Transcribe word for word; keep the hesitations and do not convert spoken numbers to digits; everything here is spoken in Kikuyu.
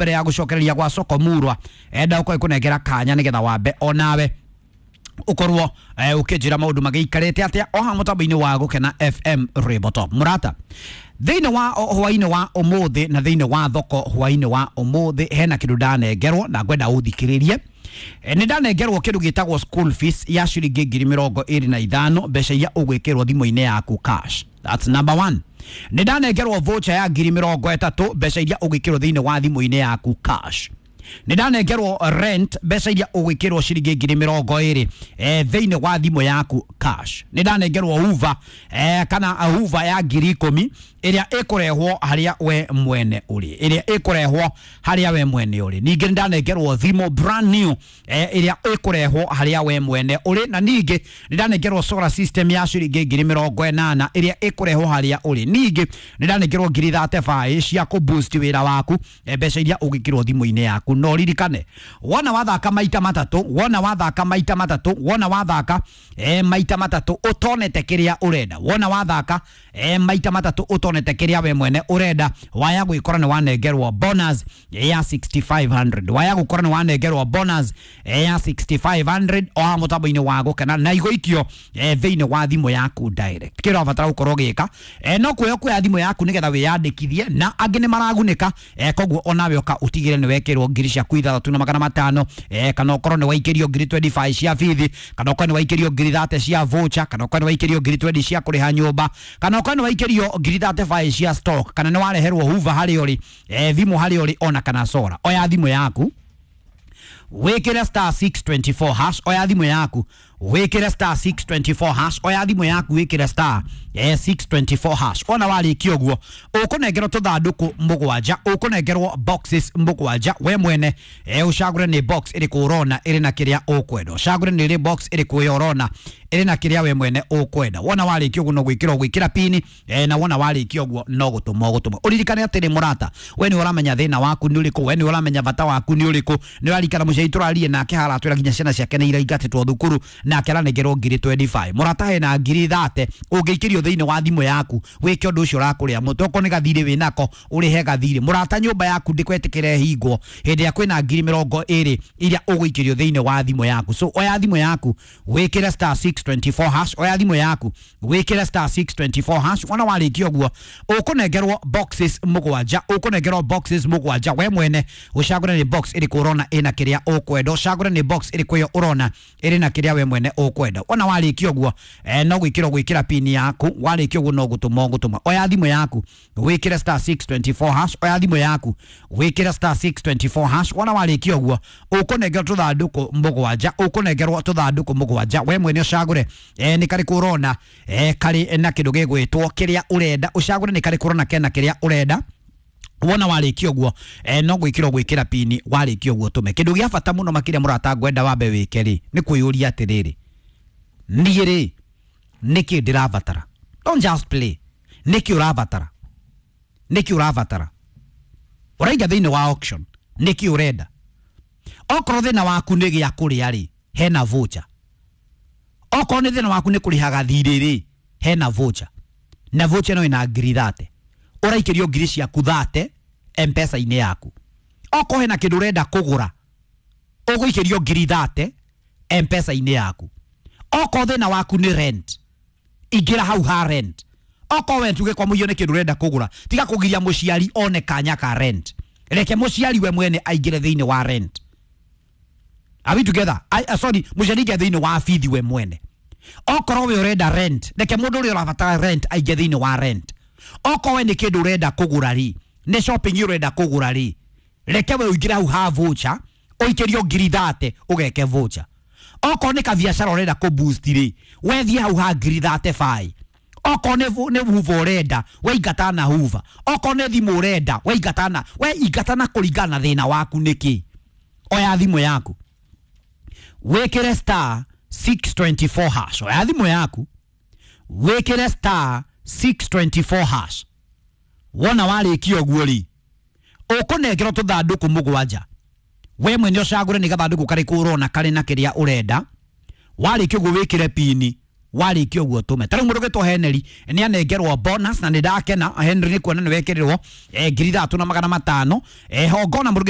Mbere ya gucokereria gwa soko murwa enda uko ikunengera kanya nigetha wambe onawe ukorwo eh, ukinjira maundu magiikarite atia o ha mutambo-ini wa Gukena F M Rwimbo Top. Murata thiini wa hwaini wa umuthi na thiini wa thoko hwaini wa umuthi hena kindu ndanengerwo na ngwenda uthikiririe. E, nĩ ndanengerwo kindu gitagwo school fees ya ciringi ngiri mirongo iri na ithano, mbeca iria ugwikirwo thimu-inĩ yaku cash. That's number one. Nĩ ndanengerwo voucher ya ngiri mirongo ĩtatũ, mbeca iria ugwikirwo thiini wa thimu-inĩ yaku cash. Nĩ ndanengerwo rent, mbeca iria ugwikirwo ciringi ngiri mirongo iri eh, thiini wa thimu yaku cash. Nĩ ndanengerwo hoover eh, kana hoover ya ngiri ikũmi ĩrĩa ĩkũrehwo harĩa we mwene ũrĩ, ĩrĩa ĩkũrehwo harĩa we mwene ũrĩ. Ningĩ nĩ ndanengerwo thimũ brand new eh, ĩrĩa ĩkũrehwo harĩa we mwene ũrĩ, na ningĩ nĩ ndanengerwo solar system ya ciringi ngiri mĩrongo ĩnana ĩrĩa ĩkũrehwo harĩa ũrĩ. Ningĩ nĩ ndanengerwo ngiri thirty-five cia kũ boost wĩra waku, eh, mbeca iria ũgĩkĩrwo thimũ-inĩ yaku. No ririkane, wona wathaka maita matatũ, wona wathaka maita matatũ, wona wathaka eh, maita matatũ ũtonete kĩrĩa ũrenda, wona wathaka eh, maita matatũ ũtonete kĩrĩa we mwene ũrenda, waya gwĩkora nĩ wanengerwo bonus ya sixty-five hundred, waya gũkora nĩ wanengerwo bonus ya sixty-five hundred o ha mũtambo-inĩ wa Gũkena na igũikio eh, thĩinĩ wa thimũ yaku direct. Kĩrĩa ũrabatara gũkorwo ũgĩka eh, no kuoya kuoya thimũ yaku nĩgetha wĩyandĩkithie, na angĩ nĩ maragunĩka eh, koguo onawe ũka ũtigĩre nĩ wekĩrwo ngiri ciaku ithathatũ na magana matano eh, kana ũkorwo nĩ waikĩrio ngiri twenty-five cia bithi, kana ũkorwo nĩ waikĩrio ngiri thirty cia voucher, kana ũkorwo nĩ waikĩrio ngiri twenty cia kũrĩha nyũmba, kana ũkorwo nĩ waikĩrio ngiri thirty-five cia stock, kana nĩ wareherwo hoover harĩa ũrĩ eh, thimũ harĩa ũrĩ ona kana solar. Oya thimũ yaku wikire star six twenty-four hash, oya thimũ yaku wikire star six twenty-four hash, oya thimũ yaku wikire star eh, six twenty-four hash. Ona warĩkia ũguo ũkũnengerwo tũthandũkũ mũgwanja, ũkũnengerwo boxes mũgwanja, we mwene eh, ũcagũre nĩ box ĩrĩkũ ũrona ĩrĩ na kĩrĩa ũkwenda, ũcagũre nĩ box ĩrĩkũ ĩyo ũrona ĩrĩ na kĩrĩa we mwene ũkwenda. Wona warĩkia ũguo no gwĩkĩra ũgwĩkĩra pini eh, na wona warĩkia ũguo no gũtũma ũgũtũma. Ũririkane atĩrĩ mũrata, we nĩ ũramenya thĩna waku nĩ ũrĩkũ, we nĩ ũramenya bata waku nĩ ũrĩkũ. Nĩ ũrarikana mũciari tũrarie nake haratwĩra nginya ciana ciake nĩ iraingatĩtwo thukuru nake aranengerwo ngiri twenty-five. Mũrata hena ngiri thirty ũngĩikĩrio thĩinĩ wa thimũ yaku wĩke ũndũ ũcio ũrakũrĩa mũtwe, okorwo nĩ gathirĩ wĩnako ũrĩhe gathirĩ. Mũrata nyũmba yaku ndĩkwetĩkĩre hingwo hĩndĩ ĩrĩa kwĩna ngiri mĩrongo ĩrĩ iria ũgũikĩrio thĩinĩ wa thimũ yaku. So oya thimũ yaku wĩkĩre star six twenty-four hash, oya thimũ yaku wĩkĩre star six twenty-four hash. Wona warĩkia ũguo ũkũnengerwo boxes mũgwanja, ũkũnengerwo boxes mũgwanja, we mwene ũcagũre nĩ box ĩrĩkũ ũrona ĩna kĩrĩa ũkwenda, ũcagũre nĩ box ĩrĩkũ ĩyo ũrona ĩrĩ na kĩrĩa we mwene ũkwenda. Wona warĩkia ũguo eh, no gwĩkĩra gwĩkĩra pini yaku, warĩkia ũguo no gũtũma ũgũtũma. Oya thimũ yaku wĩkĩre star six twenty-four hash, oya thimũ yaku wĩkĩre star six twenty-four hash. Wona warĩkia ũguo ũkũnengerwo tũthandũkũ mũgwanja, ũkũnengerwo tũthandũkũ mũgwanja, we mwene ũcagũre eh, nĩ karĩkũ ũrona eh, karĩ na kĩndũ gĩgwĩtwo kĩrĩa ũrenda, ũcagũre nĩ karĩkũ ũrona kena kĩrĩa ũrenda. Wona warĩkia ũguo eh, no gwĩkĩra gwĩkĩra pini, warĩkia ũguo tũme. Kĩndũ gĩa bata mũno makĩria mũrata ngwenda wambe wĩke rĩ nĩ kwĩyũria atĩrĩrĩ, niĩ rĩ nĩkĩ ndĩrabatara? Don't just play. Nĩkĩ ũrabatara? Nĩkĩ ũrabatara? Ũraiga thĩinĩ wa auction, nĩkĩ ũrenda? Okorwo thĩna waku nĩ gĩa kũrĩa rĩ, hena voucher. Okorwo nĩ thĩna waku nĩ kũrĩha gathirĩ rĩ, hena voucher. Na voucher no ĩna ngiri thirty. Ũraikĩrio ngiri ciaku thirty M-Pesa-inĩ yaku. Okorwo hena kĩndũ ũrenda kũgũra, ũgũikĩrio ngiri thirty M-Pesa-inĩ yaku. Okorwo thĩna waku nĩ rent, ingĩra hau ha rent. Okorwo we tuge kwa mũiyo nĩ kĩndũ ũrenda kũgũra, tiga kũgiria mũciari one kanya ka rent. Reke mũciari we mwene aingĩre thĩinĩ wa rent. Are we together? I, uh, sorry, mũciari aingĩre thĩinĩ wa bithi we mwene. Okorwo we ũrenda rent, reke mũndũ ũrĩa ũrabatara rent aingĩre thĩinĩ wa rent. Okorwo we nĩ kĩndũ ũrenda kũgũra rĩ, nĩ shopping ũrenda kũgũra rĩ, reke we ũingĩre hau ha voucher, ũikĩrio ngiri thirty ũgeke voucher. Okorwo nĩ kabiacara ũrenda kũ boost rĩ, we thiĩ hau ha ngiri thirty-five. Okorwo nĩ nĩ hoover ũrenda, we ingata na hoover. Okorwo nĩ thimũ ũrenda, we ingata na, we ingata na kũringana na thĩna waku nĩkĩ. Oya thimũ yaku wĩkĩre star six twenty-four hash. Oya thimũ yaku wĩkĩre star six twenty-four hash. Wona warĩkia ũguo rĩ, ũkũnengerwo tũthandũkũ mũgwanja, we mwene ũcagũre nĩ gathandũkũ karĩkũ ũrona karĩ na kĩrĩa ũrenda. Warĩkia ũguo wĩkĩre pini Warĩkia ũguo tũme ta rĩu mũndũ ũgĩtwo Henry nĩ anengerwo bonus na nĩ ndakena. Henry, nĩ kuona nĩ wekĩrĩrwo eh, ngiri ithatũ na magana matano. eh, hongona mũndũ ũgĩtwo